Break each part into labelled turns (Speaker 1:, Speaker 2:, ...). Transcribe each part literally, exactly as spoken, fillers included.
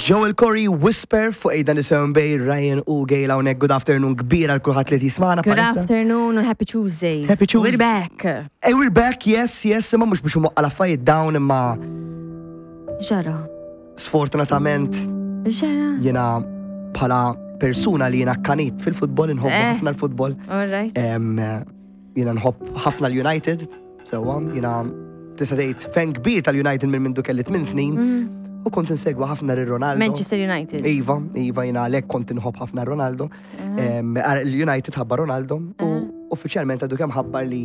Speaker 1: Joel Corry, Whisper fuq Ejda Nisewn Bay, Ryan u Gail hawnhekk. Good afternoon kbira għal kulħadd li jismagħna
Speaker 2: Good
Speaker 1: bħalissa.
Speaker 2: Afternoon and happy Tuesday.
Speaker 1: Happy Tuesday.
Speaker 2: We're back.
Speaker 1: Hey, we're back, yes, yes, imma mhux biex imwaqqa l-affarijiet down, imma
Speaker 2: Ġara.
Speaker 1: Sfortunatament
Speaker 2: Ġara.
Speaker 1: jiena bħala persuna li jiena kanit fil-futbol, inħobbu
Speaker 2: Eh.
Speaker 1: ħafna l-futbol.
Speaker 2: All right.
Speaker 1: Em, Jiena nħobb ħafna l-United, sewwa, jiena tista' tgħid fan kbir tal-United minn mindu kelli tmien snin u kont insegwa ħafna lil Ronaldo.
Speaker 2: Mm. Manchester United.
Speaker 1: Iva, Iva, jiena għalhekk kont inħobb ħafna Ronaldo. Em, L-United ħabba Ronaldo u uffiċjalment għadu kemm ħabbar li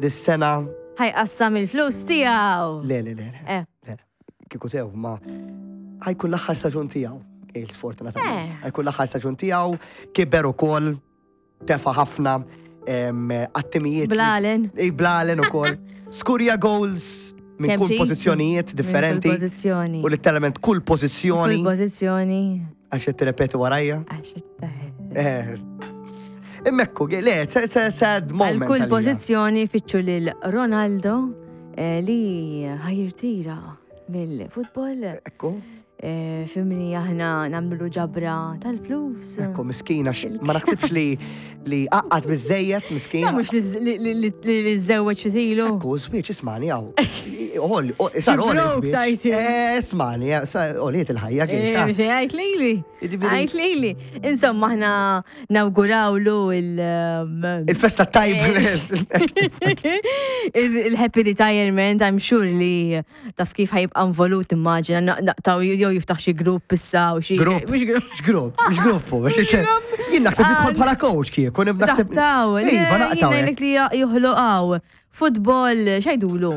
Speaker 1: dis-sena
Speaker 2: Ħajqassam il-flus tiegħu.
Speaker 1: Le, le, le, le,
Speaker 2: Eh.
Speaker 1: le, kieku tew, ma ħa jkun l-aħħar staġun tiegħu, Gail, sfortunatament.
Speaker 2: Eh.
Speaker 1: Ħa jkun l-aħħar staġun tiegħu, kiber ukoll, tefa ħafna em, attimijiet. li-
Speaker 2: Blalen.
Speaker 1: Ej, blalen ukoll. Skurja goals minn
Speaker 2: Kemm
Speaker 1: kull
Speaker 2: trid?
Speaker 1: pożizzjonijiet differenti.
Speaker 2: Kull pożizzjoni.
Speaker 1: U literalment kull pożizzjoni,
Speaker 2: Kull pożizzjoni.
Speaker 1: Għax qed tirrepetu warajja.
Speaker 2: Għax it-
Speaker 1: Eh. Immekku, le, it's a- it's a sad moment.
Speaker 2: Għal kull
Speaker 1: għalija.
Speaker 2: pożizzjoni fitxu lil Ronaldo eh, li ħa jirtira mill-futbol.
Speaker 1: Ekku,
Speaker 2: Eh, Fimni aħna nagħmlu ġabra tal-flus.
Speaker 1: Ekku, miskina, x- ma naħsibx li li għaqqad biżejjed, miskina.
Speaker 2: Ja, mhux li- li li- li li żewweġ fitilu.
Speaker 1: Ekku, żwieġ, ismani, għaw. Ol, sar ol,
Speaker 2: broke,
Speaker 1: żwieġ.
Speaker 2: tajti.
Speaker 1: Eh, Ismani, oliet il-ħajja,
Speaker 2: Eh,
Speaker 1: kif
Speaker 2: Biex għajt lili.
Speaker 1: Jiġifieri-
Speaker 2: Għajt lili. Insomma, aħna nawgurawlu il- um,
Speaker 1: Il-festa tajba.
Speaker 2: il- il-happy retirement, I'm sure li taf kif ħa jibqa' involut, immaġina, naqtaw jew jiftaħ xi grupp issa u xi.
Speaker 1: Grupp.
Speaker 2: Mhux grupp.
Speaker 1: X'grupp, x'gruppu, biex jien naħseb nidħol bħala coach kieku, naħseb.
Speaker 2: Naqtaw,
Speaker 1: Iva, naqtaw.
Speaker 2: Jien li joħloqaw. Futbol, x'jgħidulu?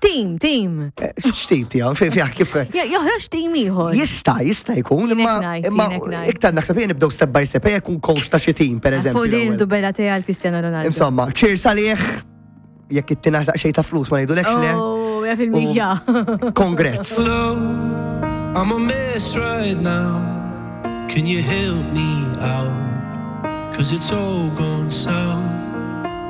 Speaker 2: Team, team.
Speaker 1: Eh, X'tip tiegħu, fi fi kif.
Speaker 2: Joħroġ team ieħor.
Speaker 1: Jista, jista jkun, imma
Speaker 2: Jien hekk ngħid,
Speaker 1: imma
Speaker 2: jien hekk ngħid.
Speaker 1: iktar naħseb jien nibdew step by step, ejja jkun coach ta' xi team, per eżempju.
Speaker 2: Fuq din
Speaker 1: l-ewwel.
Speaker 2: dubella tiegħi għal Cristiano Ronaldo.
Speaker 1: Insomma, cheers għalih, jekk ittina xejn ta' flus ma ngħidulekx le.
Speaker 2: Oh, ja fil-mija.
Speaker 1: Congrats.
Speaker 3: Love, I'm a mess right now. Can you help me out? 'Cause it's all gone south.